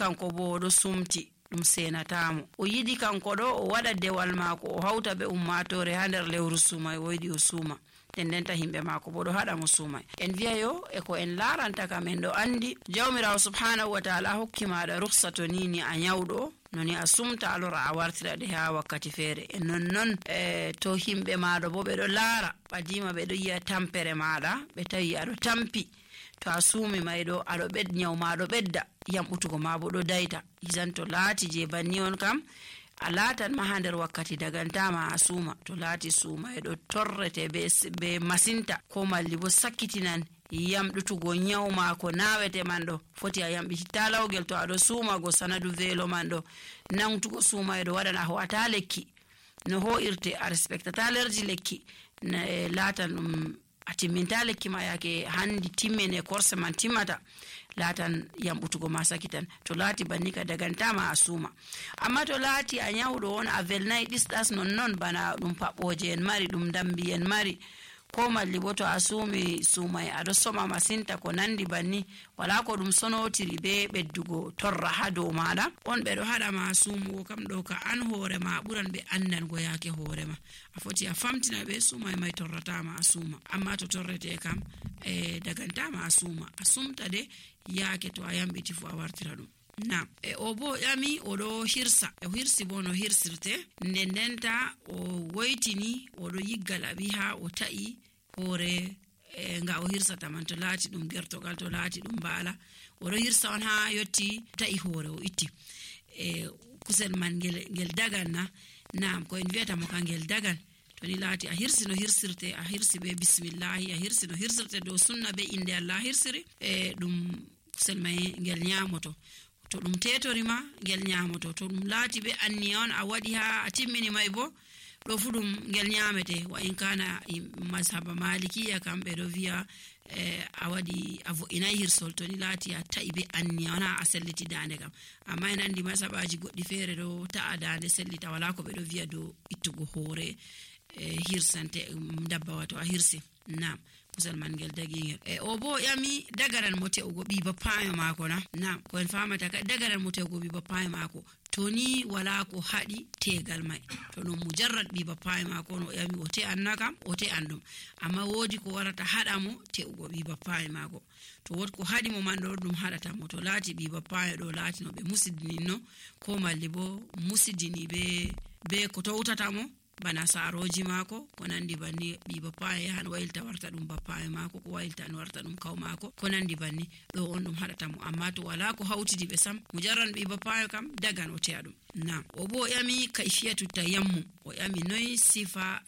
kanko bo do sumti dum senatamo o yidi kanko do o wada dewal maako o hauta be ummatore ha der lewru sumay o yidi o suma tendenta himbe maako bo do hada mo sumay en wi'a yo e ko en laranta kam en do andi jawmirawo subhanahu wa ta'ala hokki maada rukhsato nini a nyawdo noni a sumta alora a wartira de ha wakkati fere en non to himbe maado bo be do lara padima be do yi'a tampere maada be tawi ado tampi to a sumi maydo ado bed nyaw maado bedda yambutugo maabo do daita izanto laati je banni on kam a laatan ma hander wakkati dagantama a suma to laati suma e do torrete be masinta ko malli bo sakkitinan yamdutugo nyawma ko nawete mando foti a yambiti talawgel to ado suma go sanadu velo mando nangtugo suma e do wadana ho ata lekki no ho irte a respectata lerji lekki laatan atiminta lekki ma yake handi timmene korse man timmata latan yambutugo masakitan to lati bannika dagantama asuma amma to lati a nyawdo on a velnai disdas non bana dum paboje en mari dum dambi en mari ko malli boto asumi sumai ado soma masinta ko nandi banni wala ko dum sonotiri be beddugo torra hado mada on be do hada ma sumu kam do ka an hore ma buran be andan go yake hore ma afoti a famtina be sumai mai torrata ma asuma amma to torrete kam daganta ma asumta de yake to ayambiti fu a wartira dum na obo yami odo hirsa hirsi bono hirsirte ndendenta o woitini odo yiggala biha o ta'i hore nga o hirsa tamanto lati dum gertogal to lati dum bala odo hirsa on ha yotti ta'i hore o itti kusel man gel daganna naam ko en vieta mo kangel dagan to ni lati a hirsi no hirsirte a hirsi be bismillah a hirsi no hirsirte do sunna be inde Allah hirsiri dum kusel may gel nyamoto to dum tetorima gel nyamoto to dum lati be anni on a wadi ha atimmini may bo do fudum gel nyamete wa in kana mazhaba malikiya kambe do via a wadi avo ina hirsol to ni lati a taibe anni ona a selliti dande kam amma en andi mazhabaji goddi fere do ta dande sellita wala ko be do via do ittugo hore hirsante dabba wato a hirsi naam kusal man gel dagingel obo yami dagaran mote ugo bi bapayo mako na ko en famata ka dagaran mote ugo bi bapayo mako toni wala ko hadi tegal mai to no mujarrad bi bapayo mako no yami ote annaka ote andum amma wodi ko warata hada mo te ugo bi bapayo mako to wod ko hadi mo mando dum hadata mo to lati bi bapayo do lati no be musidini no ko malli bo musidini be ko to utata mo bana saroji mako ko nandi banni bi bapaye han waylta warta dum bapaye mako ko waylta an warta dum kaw mako ko nandi banni do on dum hadata mo amma to wala ko hawtidi be sam mujarran bi bapaye kam dagan o teadum na obo yami kaifiyatu tayammum o yami noy sifa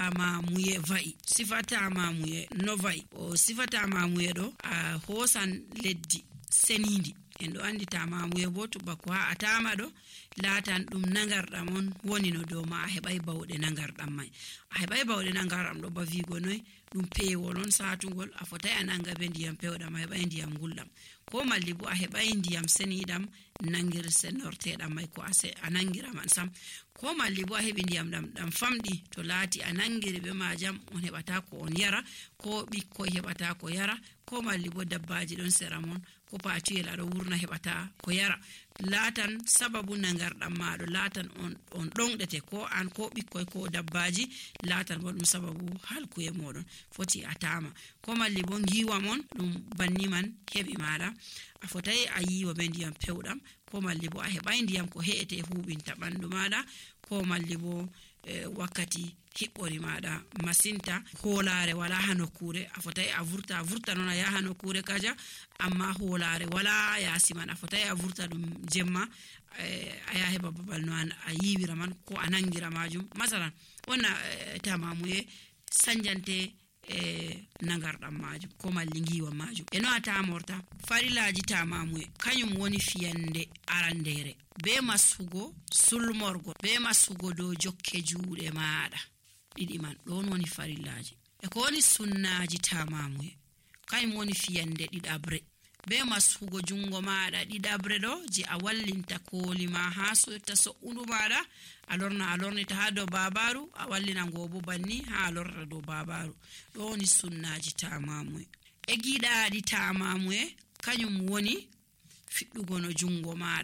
tamamuye vai sifa tamamuye no vai o sifa tamamuye do a hosan leddi senindi en do andi tamamuye bo to bako ha atama do latan dum nangardam on woni no do ma hebay bawde nangardam mai a hebay bawde nangaram do ba vigo noy dum pewol on satungol a fotay ananga be ndiyam pewdam hebay ndiyam guldam ko malli bo a hebay ndiyam senidam nangir senortedam mai ko ase anangira man sam ko malli bo a hebi ndiyam dam famdi to lati anangire be majam on hebata ko on yara ko bikko hebata ko yara ko malli bo dabbaji don seramon ko patiyel ado wurna hebata ko yara latan sababu nangardam maado latan on dongdete ko an ko bikkoy ko dabbaji latan bo dum sababu halkuye modon foti atama ko malli bo ngiwa mon dum banni man hebi maada a fotay a yiwa be ndiyam pewdam ko malli bo a hebay ndiyam ko heete hubinta bandu maada ko malli bo wakkati hibbori maada masinta holare wala hanokure a fotay a vurta non ya hanokure kaja amma holare wala ya siman a fotay a vurta dum jemma aya heba babal no an a yiwira man ko anangira majum masalan wonna tamamuye sanjante nangardam majum ko malli ngiwa majum eno ata morta farilaji tamamuye kanyum woni fiyande arandere be masugo sulmorgo be masugo do jokke juude maada didi man don woni farilaji e ko woni sunnaji tamamuye kanyum woni fiyande didabre be masugo jungo maada didabre do je a wallinta kolima ha so taso undu maada alornita ha do babaru a wallina ngobo banni ha alorra do babaru do woni sunnaji tamamuye e gidaadi tamamuye kanyum woni fiddugo no jungo maada